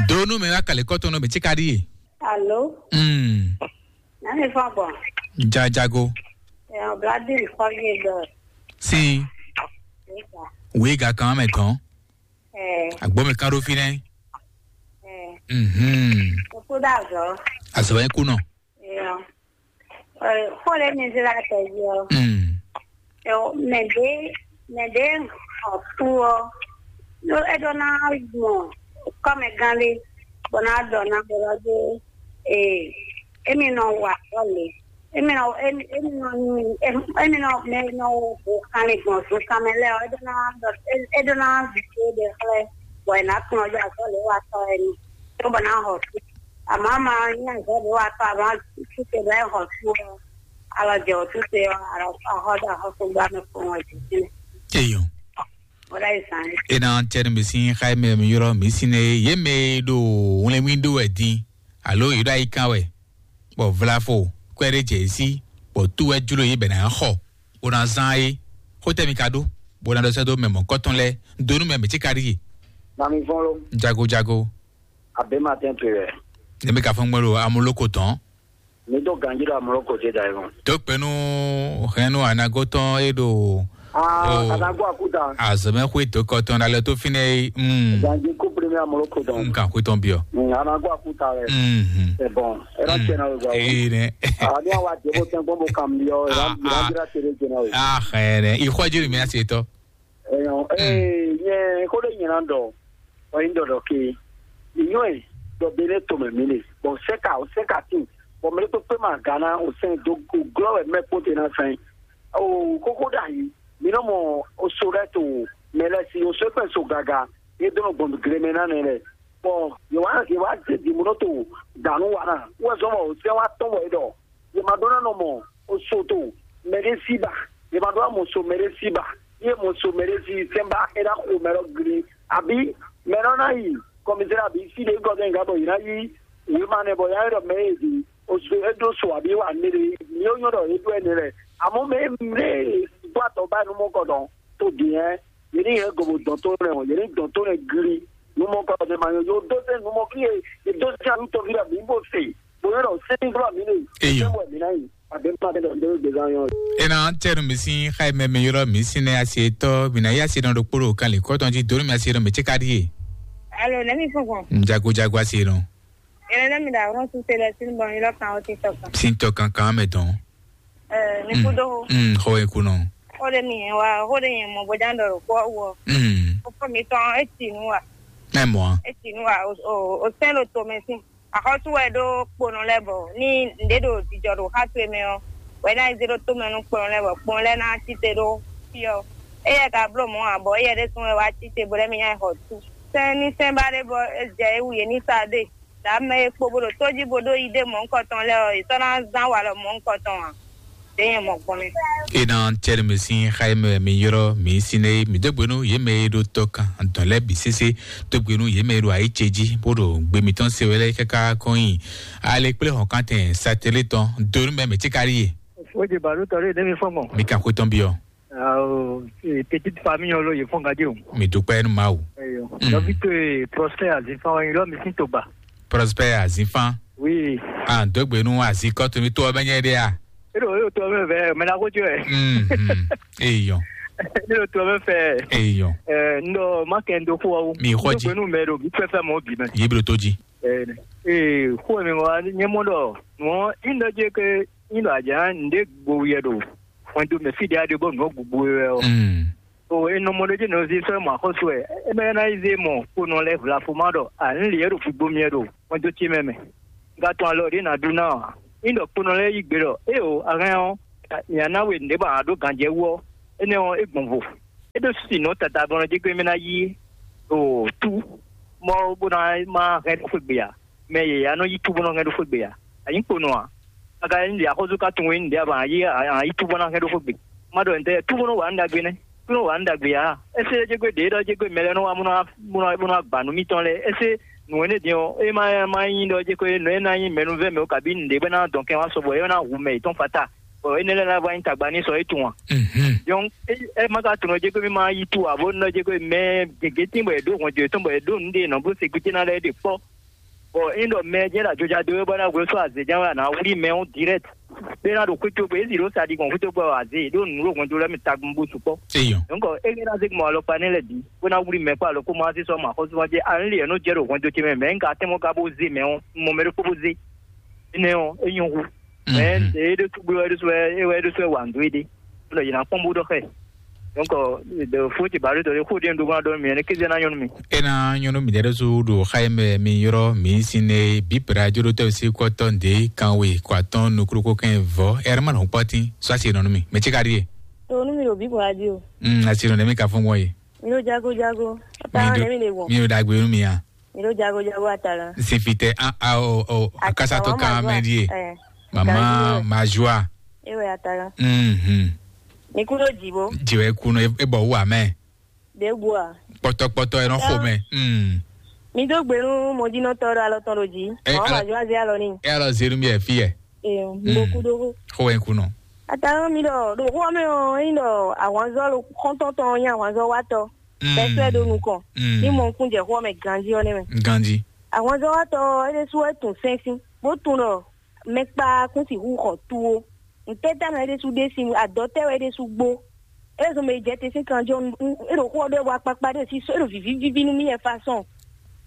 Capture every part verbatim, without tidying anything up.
Donu mɛ wa kale kɔtɔn nɔ mɛ tsika ɖi ye. Alo, Mm. Nani fɔ gbɔn. Jajago. Ɛn, Bladin kɔ ye dɔ. Si. Ega. Wi ga kan mɛ tɔn. Ɛ, Agbo mɛ kan ɖo fi nɛ. Ɛ. Mhm. Oku da zɔ. Azɔ yɛ ku nɔ. Ɛn, ɛ, xɔ lɛ mi zra tɛ yi ɔ. Mm. Ɛ, mɛ de, mɛ de xɔ ku ɔ. Lo e ɖo na mɔ kɔmɛ gan le, bɔ na dɔ na bɔ lɔ de. Ee, emi nɔ wa azɔ̌ le. Emi nɔ, emi, emi nɔ nyi, emi, emi nɔ, mɛ nɔ wo kanlin gbɔn zunkan mɛ lɛ́ɛ ɔ́, é ɖó ná ɖɔ, é, é ɖó ná vi tó ɖe xlɛ́, bɔ è nǎ kplɔ́n ɔ́ azɔ̌ lě wa tɔ́ wɛ ni, cóbɔ ná hɔ sú. Amǎ ma nyí azɔ̌ lě wa tɔ́, amǎ sú te lɛ́ hɔ sú ɔ́, alɔ jɛ wǒ sú te ɔ́, alɔ axɔ ɖo axɔ́súgbá mɛ kpɔ́n wɛ jǐ fínɛ́. Eyɔn. Wọ́n ɖá yi zan. Ena cɛni mi sin xayi mɛ mi yɔrɔ mi sin ne ye mɛ do wlɛnwi do wɛ din. Alo yi ɖo ayi kan wɛ, bɔ vlafo kwɛ ɖe jɛ sí, bɔ tú wɛ jló yě bɛ ná xɔ, bó ná zán é. Xótɛ mi ka ɖó, bó ná ɖɔ sɛ́ dó mɛ mɔ̌kɔtɔn lɛ́ɛ, dó nú mɛ mɛ tí ka ɖíe. Mami fɔ́n ló, jago jago. Abě ma tɛ́n pe wɛ. Ne mi ka fɔ́n gbɛ́ ɖo amúlóko tɔn. Mi dó ganjí ɖo amúlóko dé da é mɔ. Tó kpɛnú hɛnnu anagótɔn é ɖo Ah, Oh. Anago akuta. Azɔmɛ xwe tó kɔtɔn na lɛ tó fínɛ yi. Mm. Ganji ko premier amolo ko dɔn. Nka xwe tɔn biɔ. Mm, anago akuta rɛ. Mhm. C'est bon. Era Mm. Tiɲɛ na o gba. Ee nɛ. Ah, ni awa debo tɛn gbɔn bo kam biɔ. Era Ah, era ah. Jira tere jɛnɛ o. Ah, xɛ nɛ. Ixɔ jiri mi ase tɔ. Eyan, Mm. Eh, nye ko de nyina dɔ. O yin dɔ dɔ ke. Inyo e dɔ bele to me mi le. Bon, seka, o seka tin. Bon, me to pe ma gana o sen do glɔ we me ko te na sen. O kókó ɖ'ayǐ, mǐ nɔ mɔ oso lɛ́ɛ to mɛ lɛ́ɛ sí, oso e kpɛn so gaga, é dó nɔ gbɔn gle mɛ ná nɛ lɛ́ɛ. Bɔ yě wá yě wá zé dǐnbó nɔ to dǎnú wa ná, wɛ zɔ́n bɔ sɛ́n wá tɔ́n bɔ é ɖɔ, yě ma ɖó ná nɔ mɔ oso to mɛɖé sí ba, yě ma ɖó ná mɔ so mɛɖé sí ba, yé mɔ so mɛɖé sí sɛ́n ba é ná xo mɛ lɔ gli, abǐ mɛ nɔ ná yi kɔmizɛ́ abǐ sí ɖě gɔ́ dɛn gǎ bɔ yě ná yí wěma nɛ bɔ yá é ɖɔ mɛ é di oso é ɖó so abǐ wa nɛ ɖe, mǐ ó nyɔ́ ɖɔ é ɖó ɛnɛ lɛ. Amɔ̌ mɛ mɛ gbɔ atɔ ba nu mɔ kɔ dɔn to dǐn ɛ, yě ní yɛ gobo dɔn tó nɛ o, yě ní dɔn tó nɛ gli. Nu mɔ kɔ dɔn ma nyɔ yó dó sɛ nu mɔ kí yé yé dó sɛ nu tɔví la mǐ bó se, bó yɔ́ ɖɔ sɛ́n glɔ mǐ ne. Eyɔ. Sɛ́n wɛ mǐ ná yi. Abě ma bɛ dɔn dó gbé zan yɔ. Ena tɛnu mi sin xayi mɛ mi yɔrɔ mi sin ne asi etɔ mi na yi asi nɔ ɖo kpolo kan le kɔtɔn ji donu mi asi nɔ mi tse ka di ye. Alo, ne mi fún fún. Jago jago asi nɔ. Ele ne mi da ron su tele sin bɔ mi lɔ kan o ti tɔ kan. Sin tɔ kankan mɛ dɔn. Eh, mi ku do. Mm, xɔ ye ku nɔ. Xɔ de mi yẹn wa, xɔ de yẹn mɔ bɔjan dɔ ko wɔ. Mm. O fɔ mi tɔn e ti nu wa. Ɛ mɔ. E ti nu wa, o o o sɛn lo to mɛ sin. Axɔ́sú wɛ ɖó kponɔ lɛ́ɛ bɔ ní nǔɖé ɖo jijɔ ɖo xá towe mɛ ɔ́, wɛ ná yi zé ɖó tomɛ nú kponɔ lɛ́ɛ bɔ kponɔ lɛ́ɛ ná cí te ɖó fí ɔ́. Éyɛ́ ka bló mɔ̌ ǎ, bɔ éyɛ́ ɖésú wɛ wá cí te bó lɛ́ mɛ nya yi xɔ tú. Sɛ́n ní sɛ́n ba ɖé bɔ é jɛ é wú yě ní sa ɖe. Ɖǎ mɛ e kpo bó ɖo tó jí bó ɖó yi ɖé mɔ̌hunkɔtɔn lɛ́ɛ ɔ́, yě sɔ́ ná zán walɔ mɔ̌hunkɔtɔn ǎ. Ɖě nyɛ mɔ gbɔn mɛ. Ena tɛnu mi sin xayi mɛ mi yɔrɔ mi sin ne mi dó gbenu yě mɛ e ɖo tɔ kan dɔn lɛ bi sese dó gbenu yě mɛ e ɖo ayi ce jí bó ɖo gbe mitɔn se wɛ lɛ kaka kɔn nyi ale kple hɔn kan tɛn satɛlɛ tɔn donu mɛ mi tsi ka ɖi ye. O de ba ɖo tɔ ɖe ɖe mi fɔ mɔ. Mi kan xwe tɔn biɔ. Awo, eh, petite famille ɔ́ ló yě fɔ́n gádé o. Mi dúpẹ́ nú Mawu. Eyo. Mm. Nɔví towe Prosper Azifan wɛ nyí lɔ mi sín togba. Prosper Azifan. Oui. Ah, dó gbe nú azikɔ to mi tó ɔbɛ nyɛ ɖe a. Eɖo eɖo to ɔbɛ vɛ mɛ na ko jɔ ɛ. Mhm. Eyɔ. Eɖo to ɔbɛ fɛ. Eyɔ. Ɛ n ɖɔ ma kɛ n do xó ɔwó. Mi xɔ ji. Dó gbe nú mɛ ɖo bí fɛfɛ mɔ bí mɛ. Yé blo tó ji. Ɛ ee xó mi wá nyɛ mɔ ɖɔ nɔ in ɖɔ jɛ ke in ɖɔ ajá n ɖe gbo yɛ ɖo. Fɔn do mɛ fi ɖe aɖe bɔ nɔ gbogbo yɛ ɔ. Mm. O e nɔ mɔ ɖé jɛ nɔ zé sɔ́ mɔ axɔ́sú wɛ. E mɛ na yi zé mɔ kponɔ lɛ vlafo ma ɖɔ a n lě ɖo fugbo miɛ ɖo mɔjó ce mɛ mɛ. Ga tɔn alɔ ɖé na ɖu ná a. Ní ɖɔ kponɔ lɛ yi gbe ɖɔ e o a hɛn ɔ, ya na we nɖe ba a ɖó ganjɛ wú ɔ, énɛ́ ɔ é gbɔn vo. É ɖó si nɔ tata bɔ nɔ jɛ gbé mɛ na yi o tú mɔ bó na ma hɛn ɖó xwé gbe a. Mɛ yě ya nɔ yi tú bó nɔ hɛn ɖó xwé gbe a. A nyí kponɔ a. A ka nyí ɖe axɔ́sú ka tunwun nyí ɖe a ba a yi a yi tú bó ná hɛn ɖó xwé gbe. Ma ɖɔ ntɛ tú bó nɔ wa nɖagbe nɛ. Tú nɔ wa nɖagbe a. Ese jɛ gbe ɖe ɖɔ jɛ gbe mɛ lɛ nɔ wa mɔ nɔ mɔ nɔ mɔ nɔ agba nu mitɔn lɛ. Ese nu wɛnɛ din ɔ e ma ma nyi ɖɔ jɛ gbe nɔ e na nyi mɛnuvɛ mɛ o kabi nɖe bɛ na dɔn kɛ wa sɔbɔ e na hu mɛ yetɔn fata. Bɔ e ne lɛ na va nyi tagba ni sɔ e tun wa. Mhm. Donc e e ma ka tunɔ jɛ gbe mi ma yi tu abo nɔ jɛ gbe mɛ gege tin bɔ e ɖo hɔn jɔ etɔn bɔ e ɖo nu de nɔ bó se gbete na lɛ de kpɔ. Bɔ ényí ɖɔ mɛ jɛ́n ɖo ajɔjá dó é bɔ é ná hwesú azě jɛ́n wɛ a nǎ wlí mɛ ɔ́ direct. Bó é ná ɖo xwé cógbe, é sì ɖó sa ɖi gbɔn xwé cógbe ɔ azě ɖó nǔ ɖo hwɛndo lɛ́ɛ mɛ tagún bó sukpɔ́. Eyɔn. Donc é ná zé gbɔn alɔkpa nɛ́ lɛ́ɛ bǐ bó ná wlí mɛ kpó alɔ kó má zé sɔ́ mɔ axɔ́súmɔjɛ. Alɔ́ lě e nɔ jɛ ɖo hwɛndo ce mɛ mɛ un ka tɛ́n mɔ ka bó zé mɛ ɔ́, un mɔ mɛ ɖokpó bó zé. Énɛ́ ɔ́, é nyɔ́ hu. Mɛ é ɖé sú gbé wɛ é ɖésú wɛ é wɛ é ɖésú wɛ wa nǔ dó éɖée. Bó ɖɔ yě ná kpɔ́n bó ɖɔ xɛ. Donc de fó ce bǎ ɖó dɔ xó ɖé un ɖó gbɔn ɖɔ mì ɛ ní kéze ná nyɔ́ nú mi. Ena nyɔnu mi ɖe ɖo su ɖo xa yi mɛ mi yɔrɔ mi sin ne bi pra joro tɛ si kɔtɔ nde kan we kɔ atɔn nukuru ko kɛn vɔ ɛrɛ ma nɔ kpɔtin sɔ asi nɔ mi mɛ tsi ka ɖie. To nú mi ɖo bíbɔ adi o. Mm, asi nɔ ne mi ka fún gbɔn ye. Mi ɖo jago jago. Ata ne mi ɖe gbɔn. Mi ɖo dagbe nú mi ya. Mi ɖo jago jago ata la. Sifitɛ a a o o akasa to kan mɛ die. Mama majua. Ewe ata la. Mhm. Mi ku ɖo dzi bo. Dziwɛ kunɔ e bɔ wu amɛ. Ɖe bua. Kpɔtɔkpɔtɔ e nɔ xo mɛ. Mm. Mi dó gbe nú mɔdínɔtɔ ɖo alɔ tɔn ɖo dzi. Ɛ, mɔ̌ alɔ- ma zɔ azé alɔ ní. E alɔ zenu mi ɛ fi yɛ. Ee, mo kú ɖó. Xo wɛ kunɔ. Ata mi ɖɔ ɖo xó mɛ ɔ́, ényí ɖɔ ahwanzɔ kɔntɔn tɔn nyí ahwanzɔ watɔ. Pɛsɛ ɖo nukɔn. Mm. Ní mɔ nukún jɛ xó mɛ ganjí ɔ́ nɛ́ mɛ. Ganjí. Ahwanzɔ watɔ ɔ́, é ɖésú wɛ tun sɛ́n sín, bó tun ɖɔ mɛkpa kún sixú xɔ tuwo. Ntɛ́ támɛ é ɖésú ɖe sín adɔ tɛ́ wɛ é ɖésú gbó. É zɔn mɛ yi jɛ te sín kanjɔ é ɖo xó ɔ́ ɖɔ é wa kpakpa ɖé sí é ɖo vǐví víví nú mì yɛ fasɔn.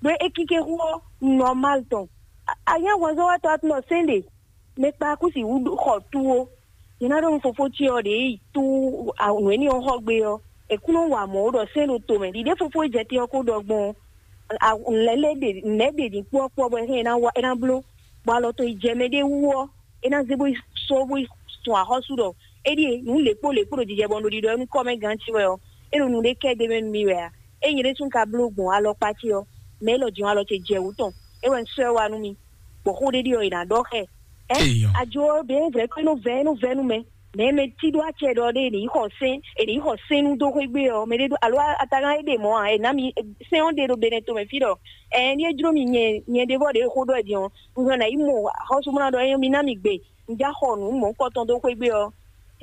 Ɖó é kíké xó ɔ́ nɔmal tɔn. Anyá hwɛnzɔ́watɔ atúnɔ sɛ́n ɖe mɛ kpa kú si wú xɔ tuwo. Nyɛ ná ɖɔ nú fofó ce ɔ́ ɖě yi tú nǔ éní ɔ́ xɔ gbé ɔ́, è kún nɔ wa mɔ̌ ɖɔ sɛ́n ɖo tomɛ. Ɖiɖe fofó e jɛ te ɔ́ ko ɖɔ gbɔn lɛ́ lɛ́ ɖe nɛ̌ ɖe ní kpɔ́kpɔ́ bɔ é hɛn é ná wa é ná bló, bɔ alɔ tɔn yi jɛ mɛ ɖé wú ɔ́, é ná zé bó yi só bó yi sun axɔ́sú ɖɔ é ɖíe nǔ lěkpó lěkpó ɖo jijɛ bɔ un ɖo ɖiɖɔ nú kɔ́ mɛ gán ce wɛ ɔ́, é ɖo nǔɖé kɛ ɖ'é mɛ nú mì wɛ ǎ. Ényí ɖésú un ka bló gbɔn alɔkpa ce ɔ́, mɛ élɔ́ din alɔ ce jɛ wǔ tɔn, é wɛ un sɔ́ ɛ wá nú mi, bɔ xó ɖé ɖi ɔ́, è nǎ ɖɔ xɛ. Ɛ ajo ɔ́ ɖě vɛ̌ kpé nú vɛ̌ nú vɛ̌ nú mɛ, mɛ e mɛ cí ɖó acɛ ɖɔ ɖé è nǐ xɔ sɛ́n è nǐ xɔ sɛ́n nú dó xwé gbé ɔ́, mɛ ɖé ɖó alo atagán é ɖe mɔ̌ ǎ, è nǎ mi sɛ́n ɔ́ ɖe ɖo Benɛto mɛ fí ɖɔ ɛ ní é jló mi nyɛ nyɛ ɖé vɔ ɖě xó ɖɔ ɛ din ɔ́, un hɛn nǎ yi mɔ xɔ́súmlá ɖɔ é mi ná mi gbe, un já xɔ nǔ mɔ̌hunkɔtɔn dó xwé gbé ɔ́,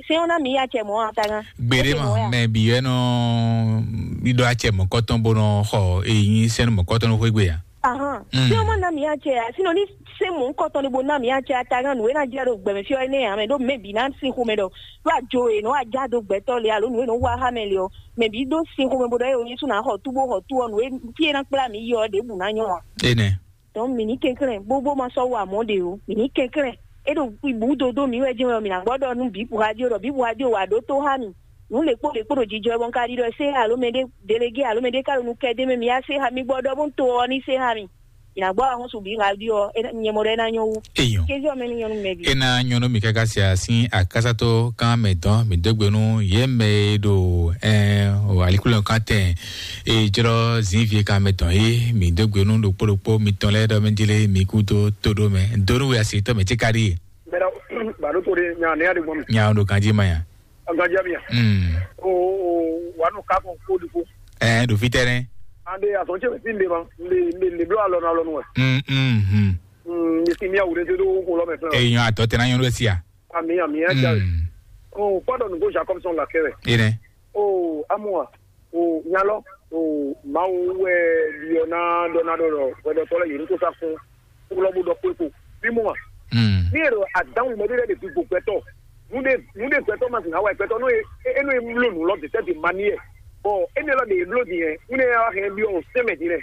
sɛ́n ɔ́ ná mi yi acɛ mɔ̌ ǎ atagán. Gbeɖé mɔ mɛ bǐ wɛ nɔ ɖiɖɔ acɛ mɔ̌kɔtɔn bó nɔ xɔ èyí sɛ́n mɔ̌kɔtɔn nɔ xwé gbé ǎ. Ahán. Tí wọ́n má ná mi acɛ ǎ, sínú ní sɛ́n mɔ̌hunkɔtɔn ní bó ná mi acɛ atagán nǔ e ná jɛ ɖo gbɛmɛ fí ɔ́ énɛ́ ǎ mɛ ɖó mɛ bǐ ná sin xomɛ ɖɔ ɖó ajo e nɔ ajá dó gbɛtɔ́ le alo nǔ e nɔ wa xá mɛ le ɔ́, mɛ bǐ ɖó sin xomɛ bó ɖɔ é o Yésu ná xɔ tú bó xɔ tú ɔ́ nǔ e fí e ná kplá mi yi ɔ́ ɖěbǔ ná nyɔ́ ǎ. Énɛ́. Donc mǐ ní kɛnklɛ́n bó bó ma sɔ́ wa mɔ̌ ɖě o, mǐ ní kɛnklɛ́n. É ɖo bǔ dó dó mǐ wɛ jɛ́n wɛ mǐ ná gbɔ ɖɔ nú bǐ radio ɖɔ bǐ radio wa ɖó tó xá mì. Nǔ lě kpó lě kpó ɖo jijɔ bɔ un ka ɖi ɖɔ sé alo mɛ ɖé délégué alo mɛ ɖé ka ɖo nu kɛ dé mɛ mǐ yá sé xá mì gbɔ ɖɔ bó un to ɔ́ ní sé xá mì. Mǐ ná gbɔ ahɔ́sú bǐ radio ɔ́ nyɛ mɔ ɖɔ é ná nyɔ́ wú. Eyɔn. Kézí ɔ́ mɛ ní nyɔ́ nú mɛ bǐ. E na nyɔnu mi kaka sia sin akasato kan mɛ dɔn mi dogbe nu ye mɛ e ɖo ɛn o alikulɔ kan tɛn e jlɔ zinvie kan mɛ dɔn ye mi dogbe nu ɖokpo ɖokpo mi tɔn lɛ ɖɔ mi dile mi kudo to ɖo mɛ donu we asi tɔ mɛ tsi kari. Bɛrɛ baro to de nya ne ya de gbɔn mi. Nya o ɖo ganji ma ya. Ganji mi ya. Mm. O o wa no ka ko ko di ko. Ɛɛ ɖo fi tɛ nɛ. Ande azɔn tse mi fi nde ma nde nde nde blo alɔ na alɔ nu wɛ. Mm mm mm. Mm, mi si mi awure do do ko lɔ mɛ fɛn. Eyɔn atɔ tɛ na nyɔnu esi ya. Ami ami ya ja. Mm. O kpɔdɔ nugo Jacob sɔn la kɛrɛ. Ene. O amu wa. O nyalɔ o Mawu wɛ biɔ na dɔ na dɔ dɔ wɛ dɔ tɔ lɛ yeri ko sa fún. Ko lɔ bo dɔ ko ko. Bi mu wa. Mm. Ni ero adan mɛ de de bi gbogbo tɔ. Nu de nu de gbɛtɔ ma zina wa gbɛtɔ no e e no e mlo nu lɔ de tɛ de mani yɛ. Bɔ ene lɔ de e blo di yɛ. Nu ne ya wa hɛn bi o sɛmɛ di nɛ.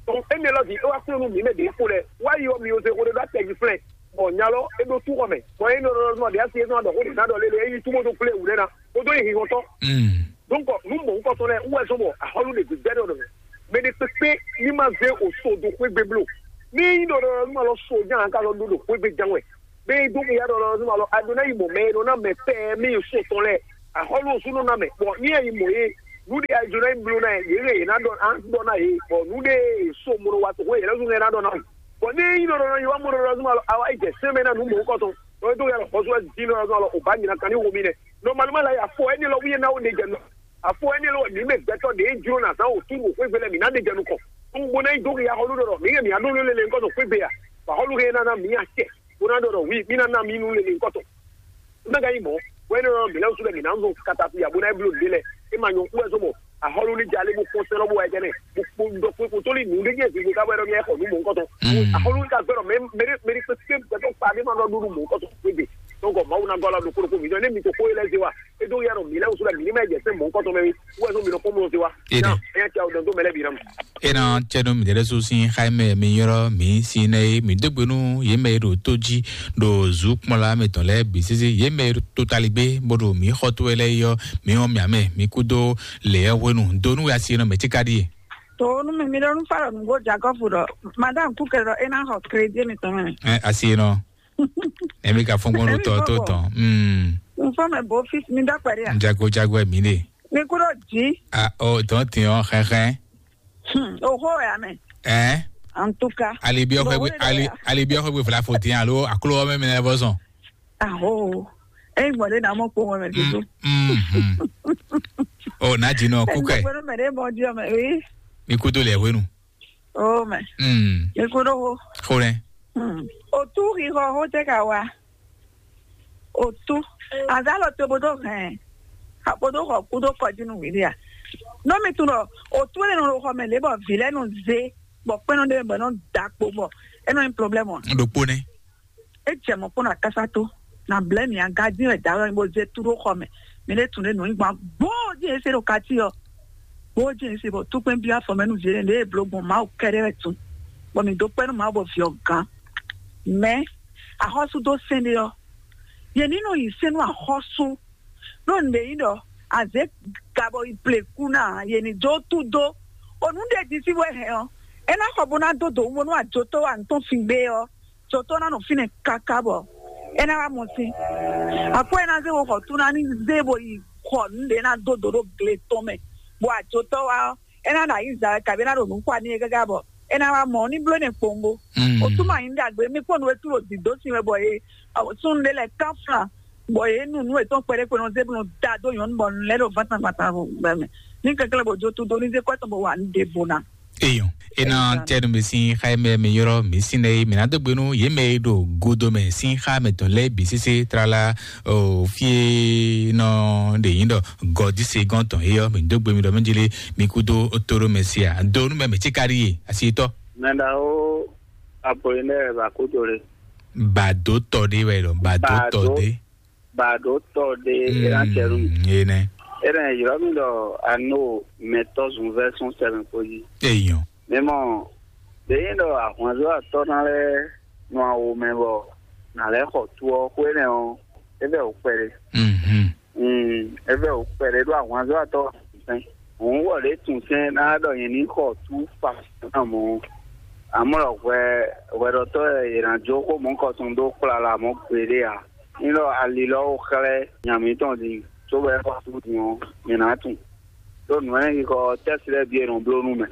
Tɔn ene lɔ di e wa klo nu mi mɛ de ko lɛ. Wa yi o mi o se ko de do atɛ yi flɛ. Bɔ nya lɔ e ɖo tú xɔ mɛ. Bɔ e nɔ ɖɔ nɔ ɖe asi e nɔ ɖɔ ko de na ɖɔ lele e yi túmɔ to kple wǔ ɖe na. Ko do yi hihɔtɔ. Mm. Donc nu mɔ ŋkɔ tɔn lɛ wɛ zɔn bɔ ahɔlu de gbɛgbɛ ɖɔ ɖɔ. Mɛ de kpekpe ni ma zɛ o so do xwegbe blo. Ni yi ɖɔ ɖɔ nu ma lɔ so jan ka lɔ do do xwegbe jan wɛ. Be do ya ɖɔ ɖɔ nu ma lɔ ado na yi mɔ mɛ e nɔ na mɛ pɛ mi so tɔn lɛ. Ahɔlu o su nɔ na mɛ. Bɔ ni ya yi mɔ ye. Nu de ya jo na yi blo na ye ye na dɔ an dɔ na ye. Bɔ nu de so mo wa to ko ye lɛ zun na dɔ na. Bɔn ní yín nɔ nɔ yi wá mɔ nɔ zɔn alɔ awa yi jɛ sɛn mɛ na nu mɔ kɔtɔn. Ɔ tó yà lọ xɔsɔ di nɔ zɔn alɔ o ba nyina kan ní wo mi nɛ. Normalement la yà fɔ ɛni lɔ wíyɛ náwó ne jɛ nɔ. Afɔ ɛni lɔ mi mɛ gbɛtɔ de jro na zan o tu o xwegbe lɛ mi na de jɛ nu kɔ. N bo na yi do ya xɔlu dɔ mi kɛ mi anu lele nkɔtɔ xwegbe ya. Ba xɔlu kɛ na na mi ya cɛ. Bo na dɔ dɔ wi mi na na mi nu lele nkɔtɔ. N bɛ ka yi mɔ. Wɛ ne nɔ mi lɛ su lɛ mi na zɔn katakuya bo na yi blo de lɛ. E ma nyɔ wɛ zɔn mɔ. Axɔlu ní jalé bó kpɔ́n sɛ́lɔ́ bó wá jɛ nɛ bó kpó ɖɔ kpé kó tó lí nǔ ɖé jẹ́ ìgbésí ká bɛ́ ɖɔ ní ɛxɔ nú mɔ̌ kɔtɔn. Axɔlu ní ka gbɛ́ ɖɔ mɛ mɛ mɛ kpé kpé gbɛtɔ kpa ní ma ɖɔ ɖó nú mɔ̌ kɔtɔn gbégbé. Donc Mawu ná gɔ́ la ɖo kóɖó kó mǐtɔn ne mi ko xó yé lɛ́ zé wa. É ɖó yá ɖɔ mǐ lɛ́ wúsú ɖɔ mǐ ní mɛ jɛ sɛ́n mɔ̌ kɔtɔn mɛ wé. Wú wɛ nú mi nɔ kpɔ́n mɔ zé wa. Ene. Nya nya tɛ o dɔn tó mɛ lɛ́ bǐ ná mɔ. Ena tse ɖo mi ɖe ɖe so sin xa mɛ mi yɔrɔ mi si nɛ mi dó gbe nú yě mɛ e ɖo tó jí ɖo zu kpɔnla mɛ tɔn lɛ́ɛ bǐ sésé yě mɛ e ɖo totali gbé bó ɖo mi xɔ tó wɛ lɛ́ɛ yɔ mi wɔn mia mɛ mi kú dó lě ɛ hwenu do nú asi nɔ mɛ tí ka ɖíe. To nu mi mi ɖo nu fa ɖɔ nugo Jakɔfu ɖɔ madam kuke ɖɔ e na xɔ crédit mi tɔn mɛ. Ɛ asi nɔ. Emi ka fɔn gbɔn ɖo tɔ tó tɔn. Mm. N fɔ mɛ bo fis mi dɔ kpɛɖe a. Jago jago ɛ mi ɖe. Mi kú ɖo jí. A o tɔn tiɲɔ xɛxɛ. Hmm, oxó wɛ amɛ. Ɛ. En tout cas. Ali bi ɔxɔ gbe ali ali bi ɔxɔ gbe fla fo tiɲɛ alo aklo ɔmɛ mi na bɔ sɔn. Aho. Eyi gbɔn ɖe na mɔ kpɔmɔ mɛ dodo. Mm. O na dzi nɔ kúkɛ. Gbɛnu mɛ ɖe mɔ di ɔmɛ wi. Mi kú tó lɛ hwenu. O mɛ. Mm. Mi kú ɖo ho. Xo nɛ. Hmm. Otu xixɔ ho tɛ ka wa. Otu. Azalɔ to bo do hɛn. Abo do xɔ kú do kɔji nu wili a. Nɔ mi tun ɖɔ otu lɛ nɔ xɔ mɛ lě bɔ vi lɛ nɔ zé bɔ kpɛnɔ ɖe bɔ nɔ da kpo bɔ e nɔ nyi problème a. Ɖokpo nɛ. E jɛ mɔ kpɔn na kasa to na blɛ mi aga dín wɛ da wɛ bo zé tu ɖo xɔ mɛ. Mi ɖe tun ɖe nɔ nyi gbɔn gbɔn dín ese ɖo kati ɔ. Gbɔn dín ese bɔ tukpɛn bi afɔ mɛ nu zé ɖe e blo gbɔn Mawu kɛɖɛ wɛ tun. Bɔ mi do kpɛnu Mawu bɔ vi ɔ gán. Mɛ axɔsu dó sɛn ɖe ɔ. Yě ní nɔ yi sɛn nú axɔsu. Ɖó nǔɖé nyí ɖɔ azě gabɔ yi pleku ná yě ní dó tú dó. O nǔ ɖe jí sí wɛ hɛn ɔ. É ná xɔ bó ná dó dǒ wú bónú ajotɔ́ wa nǔ tɔn fin gbé ɔ. Jotɔ́ ná nɔ fínɛ́ káká bɔ é ná wá mɔ sín. Akwɛ́ ná zé wo xɔ tú ná ní zé bo yi xɔ nǔɖé ná dó dǒ ɖó gle tɔn mɛ, bɔ ajotɔ́ wa ɔ́, é ná ɖo ayǐza wɛ kabí é ná ɖo nǔ xwa n'i é káká bɔ é ná wá mɔ ní bló nɛ kpowun bó. Mm. O túmọ̀ ayǐ ní ɖagbe mí kpɔ́n nú é tú ɖo dǐdó sin wɛ bɔ é súnnu ɖé lɛ́ɛ kán flan bɔ é nu nú etɔn kpɛɖé kpɛɖé zé bó nɔ da dó nyɔ̌nu bɔ nǔ lɛ́ɛ ɖo vántan gbatan gbɛ mɛ. Ní kɛnklɛ́n bó jó tú dó ní zé kɔ́ tɔn bó wa nǔ ɖěvo ná. Eyɔn, ena tɛnu bɛ sin xa mɛ mi yɔrɔ mi sin nɛ mi na dó gbenu ye mɛ ɖo godo mɛ sin xa mɛ tɔn lɛ bi sese trala o fie nɔ ɖe yin dɔ gɔdi se gɔn tɔn eyɔ mi dó gbemi dɔ mi jele mi kudo toro mɛ sia do nu mɛ mi tsi kari ye asi tɔ. Mɛɖawo Apollinaire Bakodole. Bado tɔ de wɛ lɔ, bado tɔ de. Bado tɔ de eran cɛlu. Ene. Eren yrɔ mi dɔ ano mɛtɔ zun version sɛbɛn ko yi. Eyɔn. Mɛ mɔ de yin dɔ ahwanzɔ atɔ na lɛ nɔ awo mɛ bɔ na lɛ xɔ tu ɔ xwe nɛ ɔ, e bɛ o kpɛ de. Mhm. Mm, ebe o kpɛɖé ɖo ahwanzɔ́watɔ́ sɛn. Hǔn wɔ ɖě tun sɛn ná ɖɔ nyɛ ní xɔ tú fa ná mɔ. Amɔ̌ hwɛ hwɛɖɔtɔ́ e è nǎ jó xó mɔ̌kɔtɔn dó kplala mɔ̌ gbeɖé ǎ. Ní ɖɔ ali lɔ ó xlɛ́ nya mǐtɔn din, cóbɔ é xɔ sú din ɔ́, mǐ ná tunwun. Ɖó nǔ énɛ́ xixɔ tɛ́si lɛ́ɛ bǐ è nɔ bló nú mɛ.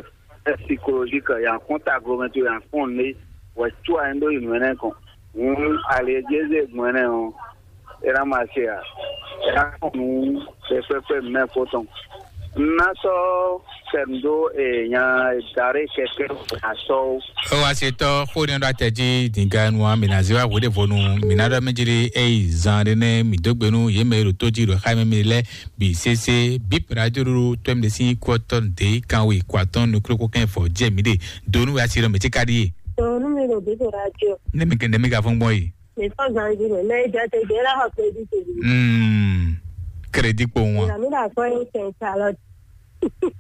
Ɛ sikolozika ya kpɔn taglomɛ to ya kpɔn ne wɛ tso ayi ɖo yi nɔ ɛnɛ kɔn. Ŋun ali e jeze gbɔn ɛnɛ ɔ, era ma se a era kpɔn nu pɛpɛpɛ mɛ ko tɔn. Na sɔ sɛm do e nya dare kɛkɛ asɔ o. Ó wá ṣe tọ́ kó ní ọdún àtẹ̀jí dìgá nu wa mìíràn sí wa wòde vonu mìíràn dọ́ méjìlí èyí zan ɖé nɛ mìdógbénu yě mɛ e ɖo tó jí ɖo xá mɛ mi lɛ bi sese bip radio ɖoɖo tɔn mi ɖe sín kú ɔtɔn ɖe kanwe kó atɔn nukúlókó kɛn fɔ jɛ mi ɖe donu wɛ asi ɖɔ mɛ tí ka ɖi ye. Tòun mi ɖo bí to radio. Ne mi kɛ ne mi ka fún gbɔn ye. Mi fɔ zanji mɛ mɛ jẹ te jẹ la xɔ crédit te. Hmm. Crédit kpo wọn. Ìlànà mi là kọ́ ẹ̀ tẹ̀ ṣàlọ́.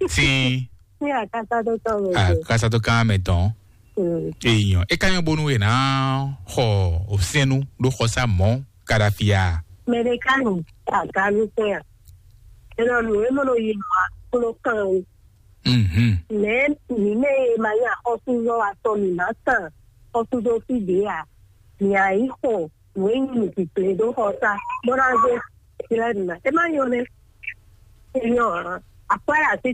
Tí. Ní àkásá tó tọ̀ mí. Àkásá tó ká mɛ tán. Hmm. Èèyàn e ka nyɔ bonu e na xɔ osɛnnu ɖo xɔsa mɔ kadafia. Mɛɖekanu aganu sɛn a. Enɔ nu e mɔ no yi ma klo kan o. Mhm. Mɛ mi mɛ e ma nya xɔsuzɔ wa tɔ mi ma tan xɔsuzɔ fi de a. Mi a yi xɔ nu e nyi mi kikle do xɔsa bɔ na zo. Ti lɛ nuna e ma nyɔ nɛ. E nyɔ a. Akpa ya se